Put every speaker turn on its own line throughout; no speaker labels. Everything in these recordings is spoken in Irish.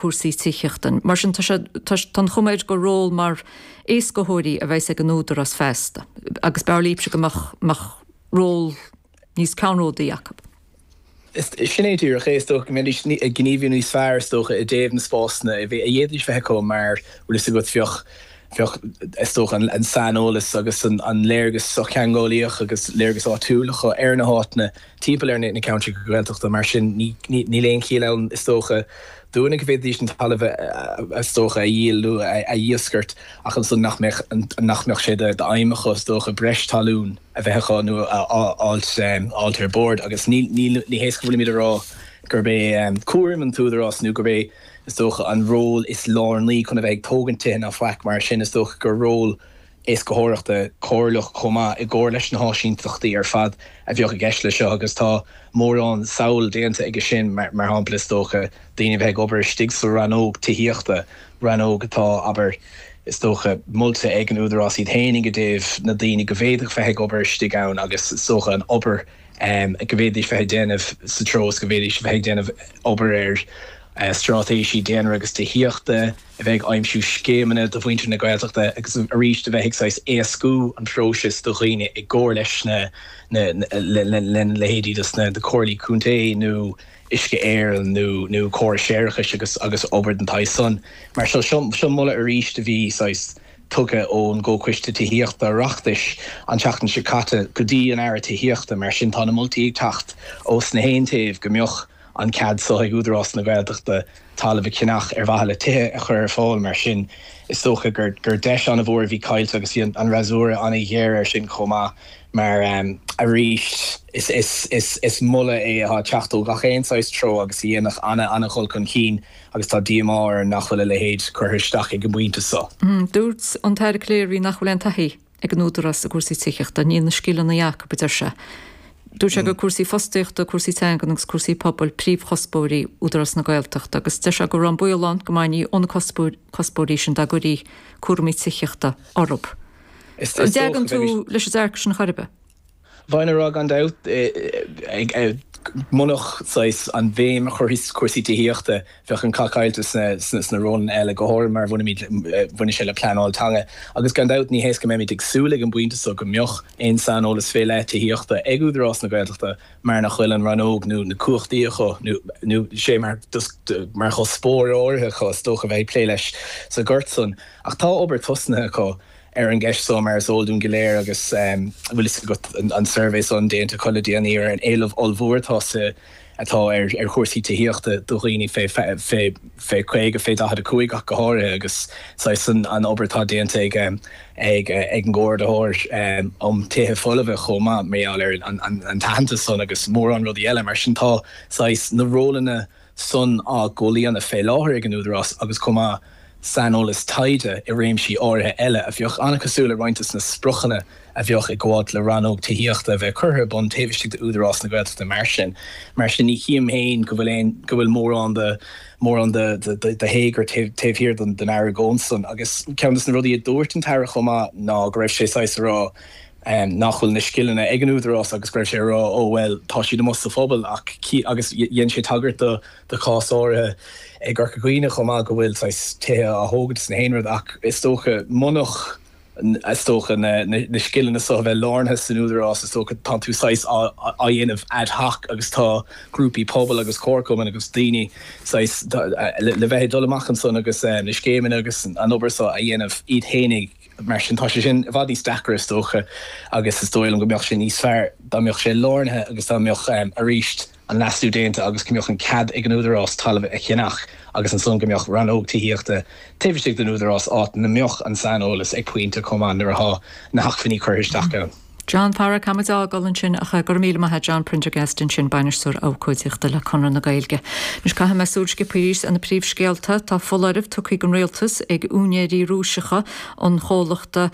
Cúrsaí tithíochta. Mar sin, tá sé, tá an chuma air gur ról mar éascaitheoirí a bheas ag an Údarás feasta agus b'fhearr libhse go mbeadh, mbeadh ról níos ceannródaí acu.
Sin é díreach é, is dócha go mbeidís ag gníomhú níos fearr, is dócha, i dtaobh na spásanna a d'fhéadfaidís bheith acu mar, bhfuil fhios agat, bheadh, bheadh, is dócha, an saineolas agus an léargas sochtheangeolaíoch agus léargas áitiúil acu ar na háiteanna timpeall ar na ceantracha Gaeltachta. Mar sin, níl aon chiall ann, is dócha, dúinne go bhféadfaidís an talamh, is dócha, a dhíol nó a dhiúscairt ach ansan nach mbeadh, nach mbeadh sé d'aidhm acu, is dócha, breis talún a bheith acu nó a fháilt ar bord. Agus ní hé go bhfuilimid a rá gurb é cúram an t-údarás nó gurb é, is dócha, an ról is lárnaí chun a bheith ag tógaint tithe ná faic mar sin. Is dócha gur ról éascaitheoireachta comhairleach chomh maith i gcomhar leis na háisínteachtaí ar fad a bheadh i gceist leis seo agus tá mórán samhail déanta aige sin, mar shampla is dócha, daoine a bheith ag obair istigh sa rannóg tithíochta, rannóg atá, abair, is dócha, molta ag an Údarás iad féinig i dtaobh na daoine go bhféadfadh bheith ag obair istigh ann agus is dócha an obair go bhféadfaidís bheith ag déanamh sa treo is go bhféadfaidís bheith ag déanamh obair ar straitéisí daonra agus tithíochta. a bheith ag aimsiú scéimeanna do mhuintir na Gaeltachta agus arís a bheith ag saghas éascú an phróisis do dhaoine i gcomhar leis na lena leithéidí dos na comhairlí contae nó Uisce Éireann nó nó córais séarachais agus agus obair den tsaghas san. Mar seo seo moladh arís a bhí saghas tugtha ón gComhchoiste Tithíochta Oireachtais an tseachtain seo caite go dtí an Aire Tithíochta. Mar sin tá na moltaí ag teacht ós na haon taobh go mbeadh an cead so ag Údarás na Gaeltachta talamh a cheannach ar mhaithe le tithe a chur ar fáil. Mar sin, is dócha gur deis an-mhór a bhí caillte agus bhí an fhreasúra an-ghéar air sin chomh maith mar, arís, is moladh é atá ag teacht ó gach aon saghas treo agus a dhéanfadh an-an-dhul chun cinn agus tá díomá orainn nach bhfuil a leithéid curtha isteach ag an bpointe so.
Dúirt an tAire Calleary nach bhfuil aon taithí ag an Údarás i gcúrsaí tithíochta. Níl na scileanna acu, a deir sé. Dúirt sé gur cúrsaí fostaíochta, cúrsaí teangan agus cúrsaí pobail príomhchuspóirí Údarás na Gaeltachta agus deir sé go raibh an baol ann go mbainfí ó na cuspóirí sin dá gcuirí cúraimí tithíochta orthu. An dtagann tú leis an dearcadh sin chor ar bith?
Bheinn a rá gan dabht, munach saghas an bhéim a chur ar cúrsaí tithíochta, bheadh an cath caillte sna rólanna eile, go háirithe mar a bhaineann sé le pleanáil teanga. Agus gan dabht ní hé is go mbeimid ag súil ag an bpointe so go mbeadh aon saineolas fé leith tithíochta ag Údarás na Gaeltachta mar nach bhfuil an rannóg nó na cumhachtaí acu nó sé mar mar chuspóir áirithe acu is dócha bheith ag plé leis sa ghort san. Ach tá obair tosnaithe acu ar an gceist so mar is eol dúinn go léir agus bhfuil fhios agat an suirbhé san déanta acu le déanaí ar an éileamh ollmhór atá sa atá ar chúrsaí tithíochta do dhaoine fé 50, fé 45 ach go háirithe agus saghas an obair atá déanta ag ag an gComhordaitheoir um Tithe Folmha chomh maith mar gheall ar an t-aitheantas san agus mórán rudaí eile. Mar sin tá saghas na rólanna san á gcomhlíonadh fé láthair ag an Údarás agus chomh maith saineolas taighde i réimsí áirithe eile a bheadh an-chosúil le roinnt de na spriocanna a bheadh ag gabháilt le rannóg tithíochta a bheith curtha ar bun taobh istigh d'Údarás na Gaeltachta mar sin. Mar sin ní chím féin go bhfuil aon, go bhfuil mórán de, mórán de, de, de théagar taobh, taobh thiar den, den argóint san. Agus ceann de na rudaí a dúirt an tAire chomh maith ná go raibh sé saghas a rá nach bhfuil na scileanna ag an Údarás agus go raibh sé a rá ó bhuel tá siad amuigh sa phobal ach, agus dhein sé tagairt do, do chás áirithe i gCorca Dhuibhne chomh maith go bhfuil saghas tithe á thógaint is na haon rud ach is dócha munach is dócha na na scileanna so a bheith lárnaithe san Údarás is dócha tá tú saghas á á dhéanamh ad hoc agus tá grúpaí pobail agus comharchumainn agus daoine saghas le bheith ag dul amach ansan agus na scéimeanna agus an obair so a dhéanamh iad fhéinig mar sin tá sé sin i bhfad níos deacra is dócha agus is dóigh liom go mbeadh sé níos fearr dá mbeadh sé lárnaithe agus dá mbeadh arís an leasú déanta agus go mbeadh an cead ag an Údarás talamh a cheannach agus ansan go mbeadh rannóg tithíochta taobh istigh den Údarás áit 'na mbeadh an saineolas ag pointe chomh maith nuair athá na hacmhainní curtha isteach ann.
John Phara, caithfidh muid a fhágáil ansin ach go raibh míle maith a't John Prendergast ansin, Bainisteoir Abhcóideachta le Conradh na Gaeilge. Anois caithfidh mé súil sciobtha arís ar na príomhscéalta. Tá foláireamh tugtha ag an Rialtas ag úinéirí Rúiseacha an chomhlachta.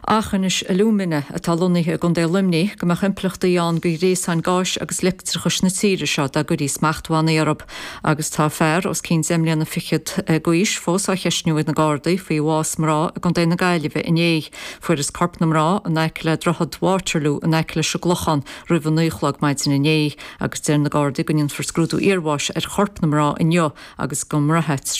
Aughinish Alumina, atá lonnaithe i gContae Luimnigh, go mbeadh impleachtaí ann do ghréasáin gáis agus leictreachais na tíre seo dá gcuirí smachtbhannaí orthu. Agus tá fear os cionn deich mbliana fichead d'aois fós á cheistniú ag na Gardaí faoi bhás mná i gContae na Gaillimhe inné. Fuarthas corp na mná in aice le Droichead Waterloo in aice leis an gClochán roimh a 9 a chlog maidin inné agus deir na Gardaí go ndéanfar scrúdú iarbháis ar chorp na mná inniu agus go mbraithfidh.